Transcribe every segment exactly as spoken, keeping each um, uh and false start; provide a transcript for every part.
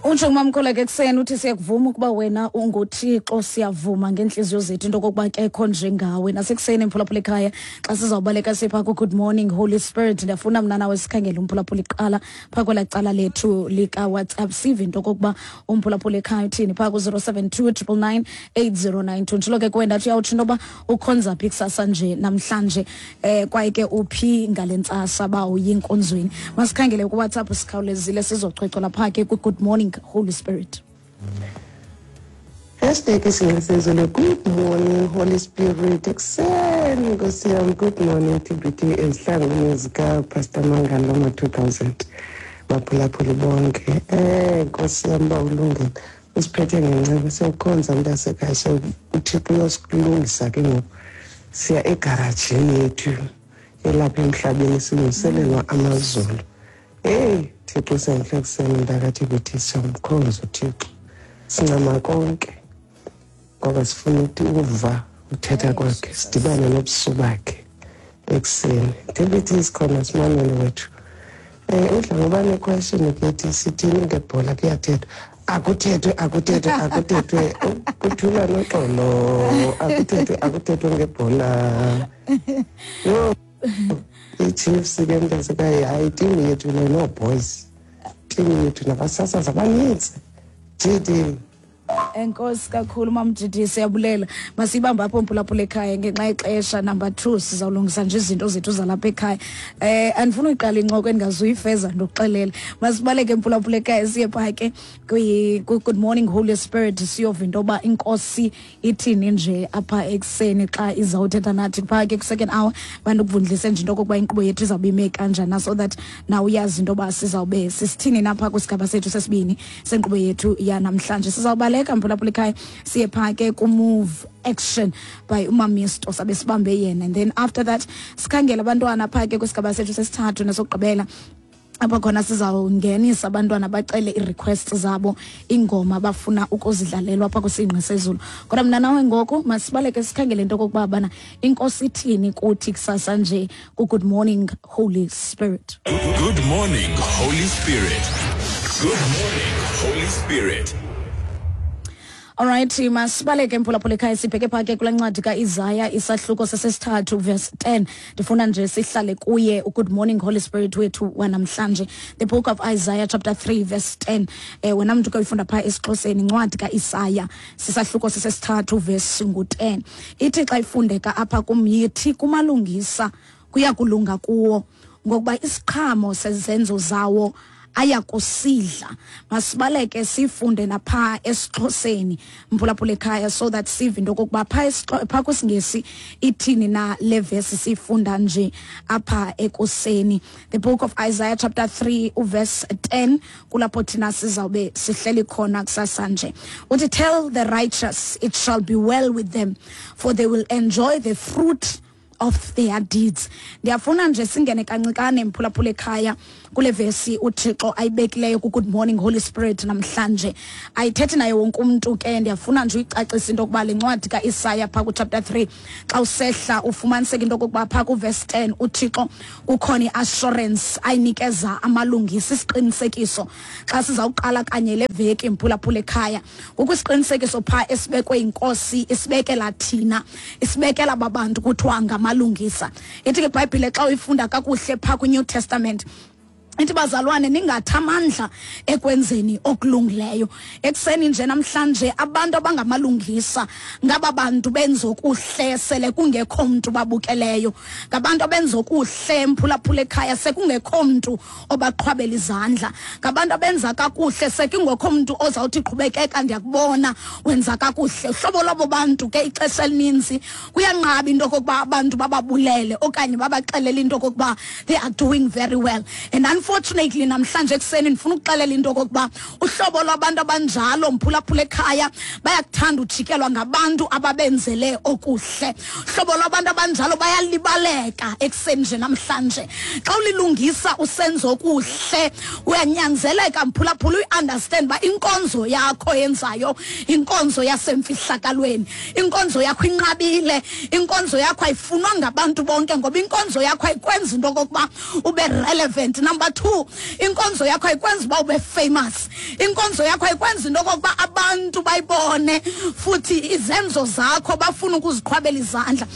Utsho ngumamkholeke ekuseni uthi siyakuvuma ukuba wena unguThixo, siyavuma ngeentliziyo zethu into okokuba kekho njengawe. Nasekuseni, mphulaphula ekhaya, xa sizawubaleka sipha ku-Good Morning Holy Spirit, ndiyafuna mna nawe sikhangele umphulaphula iqala phaa kwelaa cala lethu likaWhatsApp, sive into okokuba umphulaphula ekhaya uthini phaa ku-zero seven two triple nine eight zero nine two. Njalo ke kuwe ndathi uyawutsho into yoba ukhonza phi kusasa nje namhlanje, um kwaye ke uphi ngale ntsasa uba uyinkonzweni. Masikhangele kuWhatsApp sikhawulezile sizochwechwela phaa ke kwi-Good Morning Holy Spirit. Hashtag isinqisezulu. Good morning, Holy Spirit. Ekuseni, Nkosi yami. Good morning, T B T, ezihlangwini zikaPastor Mangalo two thousand. Baphulaphuli bonke. Eh Nkosi yami, ba ulungile. Usiphethe ngenceba, siyokhonza mntasekhaya, so uThixo uyosilungisa ke ngoku. Siya egarajini yethu elapha emhlabeni, silungiselelwa amazulu. Hey, Thixo senhle ekuseni, mntaka T B T, siyamkhonza uThixo. Sincama konke ngoba sifuna ukuthi uva uthetha kwakhe, sidibane nobuso bakhe ekuseni. T B T, sikhona, simamele wethu. um udla ngoba ne-question kethi sithini ngebhola? Kuyathethwa, akuthethwe, akuthethwe, akuthethwe, kuthula noxolo, akuthethwe, akuthethwe ngebhola. Yho, i-Chiefs ke mntasekhaya, hayi, itimu yethu le, no boys, itimu yethu nabasasazi abanintsi. G D. Enkosi kakhulu, mamjidi, siyabulela. Masibambe apho, mphulaphula ekhaya, ngenxa yexesha. Number two, sizawulungisa nje izinto zethu zalapha ekhaya. Eh andifuna uyiqala incoko endingazuyifeza, ndokuxelela. Masibaleke, mphulaphula ekhaya, siye phaa ke kwi Good Morning Holy Spirit, siyova into yoba inkosi ithini nje apha ekuseni xa izawuthetha nathi phaa ke ku-second hour. Bandikuvundlise nje into okokuba inkqubo yethu izawube ime kanjani, so that nawe uyazi into yoba sizawube sisithini napha kwisigaba sethu sesibini senkqubo yethu yanamhlanje. Sizawubaleka, mphulaphula ekhaya, siye phaa ke ku-Move Action by uMamisto, sabe sibambe yena, and then after that sikhangele abantwana phaa ke kwisigaba sethu sesithathu nesokugqibela, apho khona sizawungenisa abantwana bacele ii-requests zabo, iingoma abafuna ukuzidlalelwa apha kwisingqi sezulu. Kodwa mna nawe ngoku masibaleke sikhangele into okokuba bana inkosi ithini kuthi kusasa nje ku-Good Morning Holy Spirit. Good morning, Holy Spirit. Good morning, Holy Spirit. Alright, masibaleke, mphulaphula ekhaya, sibheke phaa ke kulaa ncwadi kaIsaya, isahluko sesesithathu, verse ten. Ndifuna nje sihlale kuye uGood Morning Holy Spirit wethu wanamhlanje. The book of Isaiah chapter three verse ten. Eh wena mntu kuyifunda phaa esiXhoseni, incwadi kaIsaya sisahluko sesesithathu verse ngu-ten. Ithi xa ifundeka apha kum, yithi kumalungisa kuya kulunga kuwo, ngokuba isiqhamo sezenzo zawo ayakusidla. Masibaleke sifunde napha esiXhoseni, mphulaphula ekhaya, so that sive into okokuba phaa esiXho- phaa kwisiNgesi ithini na le vesi siyifunda nje apha ekuseni. The book of Isaiah chapter three uverse ten, kulapho thina sizawube sihleli khona kusasa nje. Uthi, "Tell the righteous it shall be well with them, for they will enjoy the fruit of their deeds." Ndiyafuna nje singene kancikane, mphulaphula ekhaya, kule vesi uThixo ayibekileyo ku-Good Morning Holy Spirit namhlanje. Ayithethi naye wonke umntu ke. Ndiyafuna nje uyicacisa into yokuba le ncwadi kaIsaya phaa kuchapter three, xa usehla ufumaniseka into okokuba phaa kuverse ten uThixo kukhona i-assurance ayinikeza amalungisa, isiqinisekiso. Xa sizawuqala kanye le veki, mphulaphula ekhaya, kukho isiqinisekiso phaa esibekwe yinkosi, isibekela thina, isibekela babantu kuthiwa ngamalungisa. Ithi ke iBhayibhile, xa uyifunda kakuhle phaa kwiNew Testament, ithi, "Bazalwane, ningathi amandla ekwenzeni okulungileyo." Ekuseni nje namhlanje, abantu abangamalungisa ngaba bantu benza okuhle sele kungekho mntu babukeleyo, ngabantu abenza okuhle, mphulaphula ekhaya, sekungekho mntu obaqhwabela izandla, ngabantu abenza kakuhle sekungekho mntu ozawuthi, "Qhubekeka, ndiyakubona wenza kakuhle." Uhlobo lwabo bantu ke, ixesha elininzi kuyanqaba into okokuba abantu bababulele okanye babaxelele into okokuba they are doing very well. And unfortunately, namhlanje ekuseni ndifuna ukuxelela into okokuba uhlobo lwabantu abanjalo, mphulaphula ekhaya, bayakuthanda ujikelwa ngabantu ababenzele okuhle. Uhlobo lwabantu abanjalo bayalibaleka ekuseni nje namhlanje. Xa ulilungisa, usenza okuhle, uyanyanzeleka, mphulaphula, uyi-understand uba inkonzo yakho yenzayo inkonzo yasemfihlakalweni, inkonzo yakho inqabile, inkonzo yakho ayifunwa ngabantu bonke, ngoba inkonzo yakho ayikwenza into okokuba ube relevant. Number two, inkonzo yakho ayikwenzi uba ube famous. Inkonzo yakho ayikwenzi into okokuba abantu bayibone futhi izenzo zakho bafuna ukuziqhwabela izandla.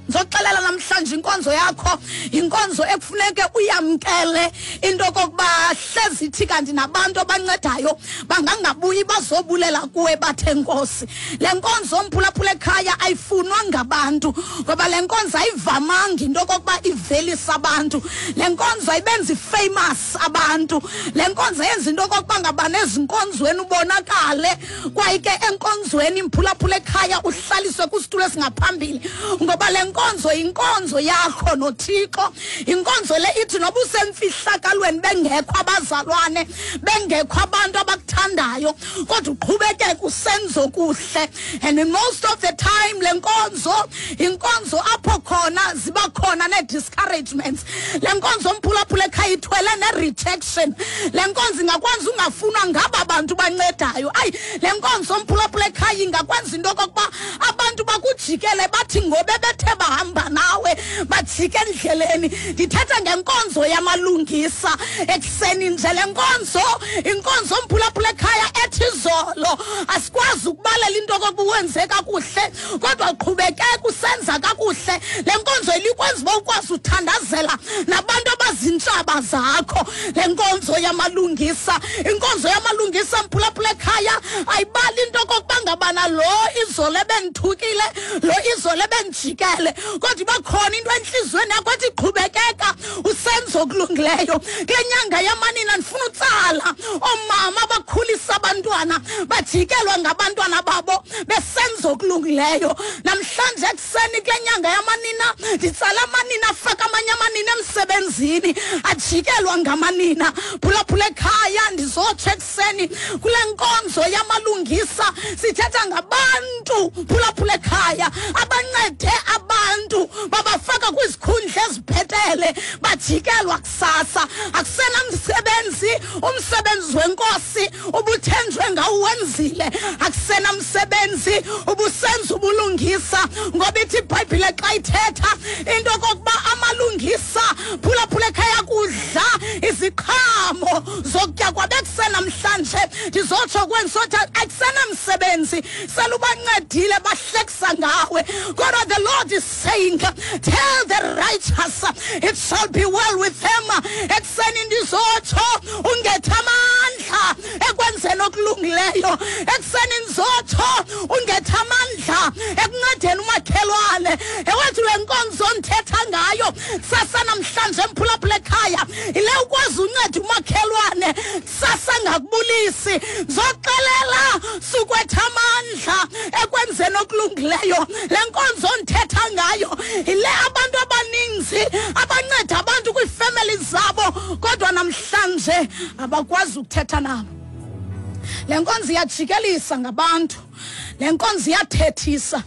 Ngizoxelela namhlanje inkonzo yakho inkonzo ekufuneke uyamkele into okokuba hlezi ithi kanti nabantu abancedayo bangangabuyi bazobulela kuwe bathe Nkosi. Le nkonzo mphulaphula ekhaya ayifunwa ngabantu ngoba le nkonzo ayivamanga into okokuba ivelisa abantu. Le nkonzo ayibenzi famous abantu. Le nkonzo yenza into okokuba ngabani ezinkonzweni ubonakale kwaye ke enkonzweni imphulaphula ekhaya uhlaliswe kwisitulo esingaphambili ngoba le inkonzo inkonzo yakho noThixo. Inkonzo le ithi noba usemfihlakalweni bengekho abazalwane bengekho abantu abakuthandayo kodwa uqhubekeke usenzo kuhle. And in most of the time le nkonzo inkonzo apho khona ziba khona ne-discouragements. Le nkonzo mphulaphula ekhaya ithwele ne-rejection. Le nkonzo ingakwenza ungafunwa ngaba bantu bancedayo. Ayi, le nkonzo mphulaphula ekhaya ingakwenza into okokuba abantu bakujikele bathi ngobe bethe bahamba nawe bajike endleleni. Ndithetha ngenkonzo yamalungisa ekuseni nje. Le nkonzo inkonzo mphulaphula ekhaya ethi izolo asikwazi ukubalela into okokuba wenze kakuhle kodwa qhubekeka usenza kakuhle. Le nkonzo ilikwenza uba ukwazi uthandazela nabantu abazintshaba zakho. Le nkonzo yamalungisa, inkonzo yamalungisa mphulaphula ekhaya ayibali into okokuba ngabana lo izolo ebendithukile, lo izolo ebendijikele, kodwa iba khona into entliziyweni yakho ethi qhubekeka usenza okulungileyo. Kule nyanga yamanina ndifuna utsala oomama abakhulisa abantwana bajikelwa ngabantwana babo besenza okulungileyo. Namhlanje ekuseni kule nyanga yamanina nditsala amanina afaka amanye amanina emsebenzini ajikelwa ngamanina. Phulaphula ekhaya ndizotsho ekuseni kule nkonzo yamalungisa sithetha ngabantu phulaphula ekhaya abancede abantu babafaka kwizikhundla ezibhetele bajikelwa kusasa. Akusenamsebenzi, umsebenzi wenkosi ubuthenjwe ngawuwenzile. Akusenamsebenzi ubusenza ubulungisa ngoba ithi iBhayibhile xa ithetha into okokuba amalungisa phulaphula ekhaya kudla iziqhamo zokutya kwabekusenamhlanje. Ndizotsho kwensothi akusenamsebenzi selubancedile bahlekisa ngawe kodwa the Lord is saying, tell the righteous it shall be well with them. Ekuseni ndizotsho ungetha amandla ekwenzeni okulungileyo. Ekuseni ndizotsho ungetha amandla ekuncedeni umakhelwane. Ewethu le nkonzo ndithetha ngayo kusasa namhlanje mphulaphula ekhaya ile ukwazi unceda umakhelwane kusasa ngakubulisi. Ndizoxelela sukwetha amandla ekwenzeni okulungileyo. Le nkonzo ndithetha ngayo ile abantu abaninzi abanceda abantu kwiifemeli zabo kodwa namhlanje abakwazi ukuthetha nabo. Le nkonzo iyajikelisa ngabantu, le nkonzo iyathethisa,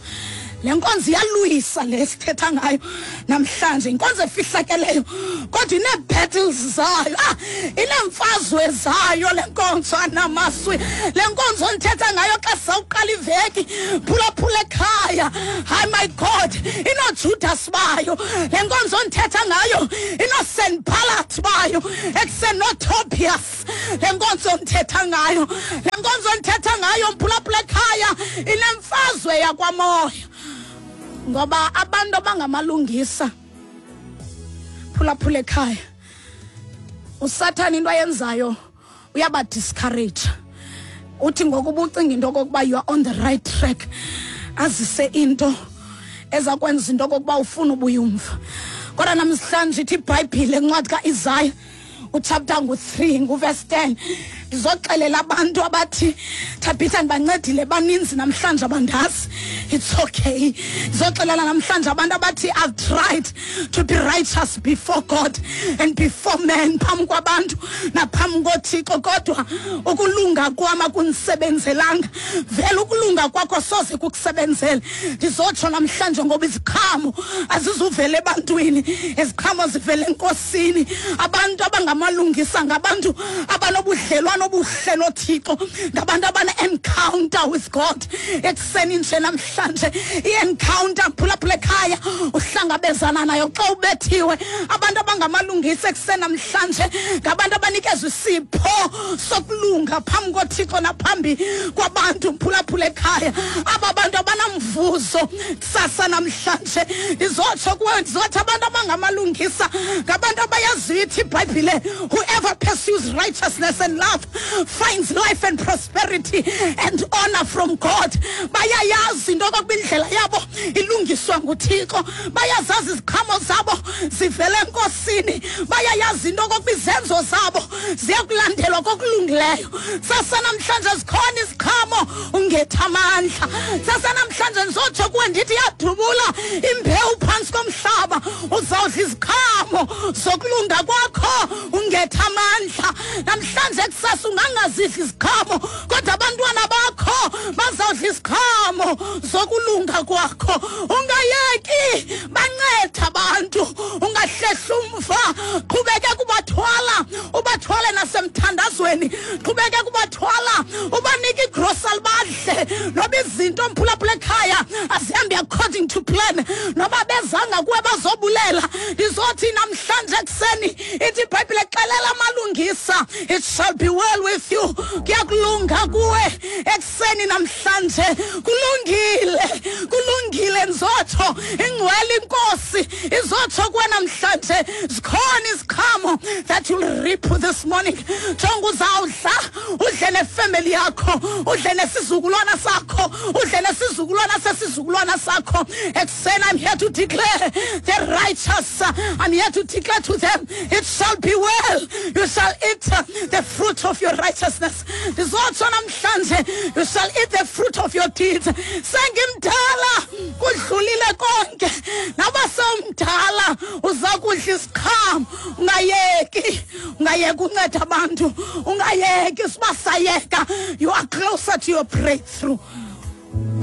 le nkonzo iyalwisa le sithetha ngayo namhlanje. Inkonzo efihlakeleyo kodwa inee-battles zayo, ah, ineemfazwe zayo le nkonzo anamaswi. Le nkonzo ndithetha ngayo xa sawuqala iveki phulaphula ekhaya, hayi my God, inoJudas bayo. Le nkonzo ndithetha ngayo inoSanballat bayo, ekusenoTobias. Le nkonzo ndithetha ngayo, le nkonzo ndithetha ngayo mphulaphula ekhaya inemfazwe yakwamoya ngoba abantu abangamalungisa phulaphula ekhaya uSathane into ayenzayo uyaba-discourage. Uthi ngokuba ucinga into okokuba you are on the right track, azise into ezakwenza into okokuba ufuna ubuya umva. Kodwa namhlanje ithi iBhayibhile encwadi kaIsaya uchapter ngu three nguverse ten, ndizoxelela abantu abathi Thabitha ndibancedile baninzi namhlanje abandazi. It's okay. Ndizoxelela namhlanje abantu abathi I've tried to be righteous before God and before men, phambi kwabantu naphambi koThixo, kodwa ukulunga kwam akundisebenzelanga. Vele ukulunga kwakho soze kukusebenzele. Ndizotsho namhlanje ngoba iziqhamo azizuvela ebantwini, iziqhamo zivela eNkosini. Abantu abangama abangamalungisa ngabantu abanobudlelwano obuhle noThixo, ngabantu abane-encounter with God. Ekuseni nje namhlanje i-encounter, phulaphula ekhaya, uhlangabezana nayo xa ubethiwe. Abantu abangamalungisa ekuseni namhlanje ngabantu abanikezwa isipho sokulunga phambi koThixo naphambi kwabantu. Phulaphula ekhaya, aba bantu abanamvuzo kusasa namhlanje. Ndizotsho kuwe, ndizothi abantu abangamalungisa ngabantu abayaziyo ithi iBhayibhile, whoever pursues righteousness and love finds life and prosperity and honor from God. Bayayazi into okokuba indlela yabo ilungiswa nguThixo, bayazazi iziqhamo zabo zivela eNkosini, bayayazi into okokuba izenzo zabo ziyakulandelwa kokulungileyo. Sasa namhlanje zikhona iziqhamo, ungetha amandla. Sasa namhlanje ndizotsho kuwe ndithi yadubula imbewu phantsi komhlaba, uzawudla iziqhamo zokulunga kwakho, ungetha amandla. Namhlanje kusasa ungangazidli iziqhamo, kodwa abantwana bakho bazawudla iziqhamo zokulunga kwakho. Ungayeki, banceda abantu, ungahlehli umva, qhubeke kubathwala, ubathwale nasemthandazweni, qhubeke kubathwala, ubanike igrosari badle. Noba izinto, mphulaphula ekhaya, azihambi according to plan, noba bezanga kuwe bazobulela, ndizothi namhlanje ekuseni ithi iBhayibhile, xelela amalungisa, it shall be well with you. Kuyakulunga kuwe ekuseni namhlanje. Kulungile, kulungile. Ndizotsho ingcwele iNkosi izotsho kuwe namhlanje, zikhona iziqhamo that you'll reap this morning. Jonga, uzawudla, udle nefemeli yakho, udle nesizukulwana sakho, udle nesizukulwana sesizukulwana sakho. Ekuseni I'm here to declare the righteous, I'm here to declare to them, it shall be well. You shall eat the fruit of your righteousness. Ndizotsho namhlanje, you shall eat the fruit of your deeds. Sengimdala, kudlulile konke. Naba sewumdala, uza kudla isiqhamo. Ungayeki, ungayeki unceda abantu, ungayeki. Sibasayeka, you are closer to your breakthrough.